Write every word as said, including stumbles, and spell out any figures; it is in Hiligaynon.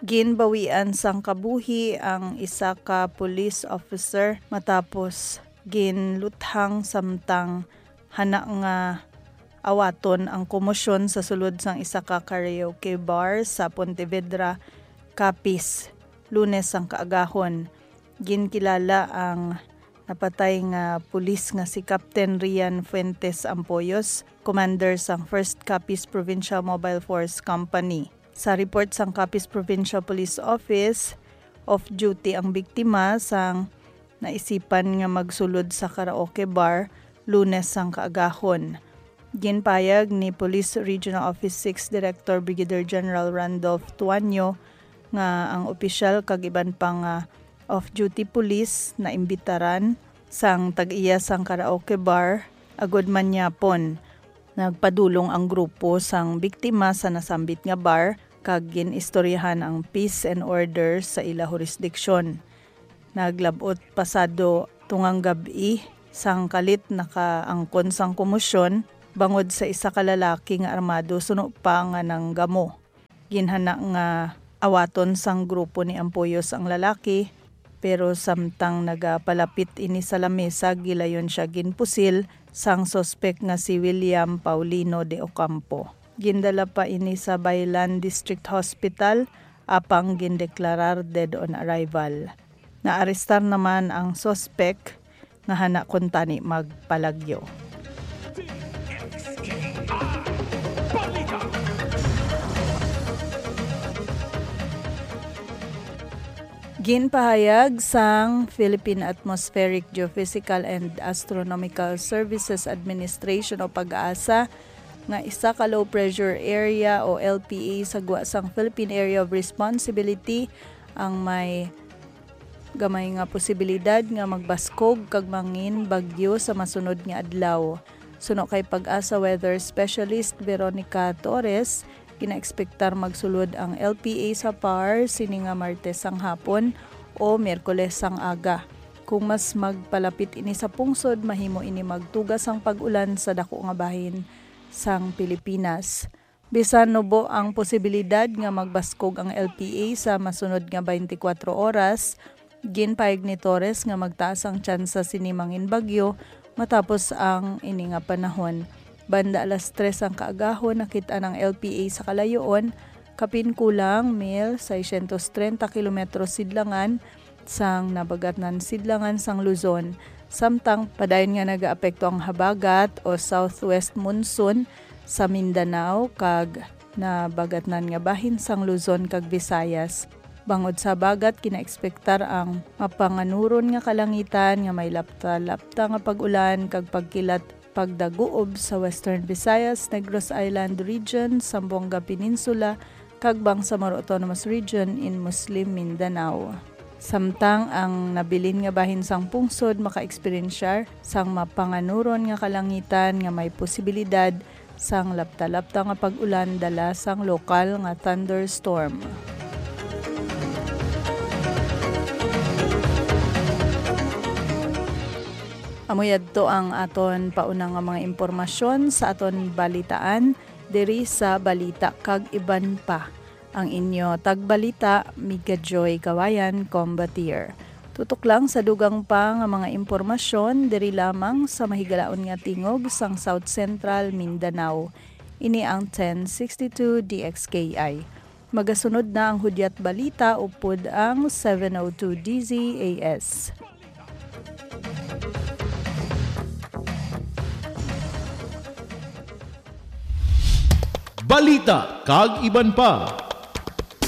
Ginbawian sang kabuhi ang isa ka police officer matapos ginluthang samtang hana nga awaton ang komosyon sa sulod sang isa ka karaoke bar sa Pontevedra, Capiz, Lunes sang kaagahon. Ginkilala ang napatay nga pulis nga si Captain Rian Fuentes Ampoyos, commander sang First Capiz Provincial Mobile Force Company. Sa report sang Capiz Provincial Police Office, off-duty ang biktima sang naisipan nga magsulod sa karaoke bar Lunes sang kaagahon. Ginpayag ni Police Regional Office six Director Brigadier General Randolph Tuanyo nga ang opisyal kag iban pa nga off-duty police naimbitaran sang tag-iya sang karaoke bar agud manyapon. Nagpadulong ang grupo sang biktima sa nasambit nga bar kag gin-istoryahan ang peace and order sa ila hurisdiksyon. Naglab-ot pasado tungang gab-i sang kalit nakaangkon sang komosyon bangod sa isa ka lalaki nga armado suno pa nga nanggamo. Ginhana nga awaton sang grupo ni Ampoyos ang lalaki, pero samtang nagapalapit ini sa lamesa, gilayon sia ginpusil sang suspek nga si William Paulino de Ocampo. Gindala pa ini sa Bailan District Hospital apang gindeklarar dead on arrival. Naarestar naman ang suspek nga hana kuntani magpalagyo. Ginpahayag sang Philippine Atmospheric, Geophysical, and Astronomical Services Administration o PAGASA nga isa ka low pressure area o L P A sa gwa sang Philippine Area of Responsibility ang may gamay nga posibilidad nga magbaskog kag mangin bagyo sa masunod nga adlaw. Suno kay PAGASA weather specialist Veronica Torres, ginaekspektar magsulod ang L P A sa PAR sini nga Martes sang hapon o Miyerkules sang aga. Kung mas magpalapit ini sa pungsod, mahimo ini magtuga sang pag-ulan sa dako nga bahin sang Pilipinas. Bisan nubo ang posibilidad nga magbaskog ang L P A sa masunod nga twenty-four oras, ginpayag ni Torres nga magtaas ang tsansa sini mangin bagyo matapos ang ini nga panahon. Banda alas tres ang kaagahon, nakit-an ang L P A sa kalayoon, kapin kulang mil seiscientos treinta kilometro sidlangan sang nabagatnan sidlangan sang Luzon, samtang padayon nga nagaapekto ang habagat o southwest monsoon sa Mindanao kag nabagatnan nga bahin sang Luzon kag Visayas. Bangod sa habagat, ginaekspektar ang mapanganuron nga kalangitan nga may lapta-lapta nga pag-ulan kag pagkilat pagdaguob sa Western Visayas, Negros Island Region, Zamboanga Peninsula, kag Bangsamoro Autonomous Region in Muslim Mindanao. Samtang ang nabilin nga bahin sang pungsod makaeksperiensyar sang mapanganuron nga kalangitan nga may posibilidad sang lapta-lapta nga pag-ulan dala sang lokal nga thunderstorm. Amo yadto ang aton pauna nga mga impormasyon sa aton balitaan diri sa Balita kag Iban Pa. Ang inyo tagbalita, Miga Joy Kawayan, Combatir. Tutok lang sa dugang pa nga mga impormasyon diri lamang sa mahigalaon nga tingog sang South Central Mindanao. Ini ang ten sixty-two D X K I. Magasunod na ang Hudyat Balita upod ang seven oh two D Z A S. Balita kag iban pa.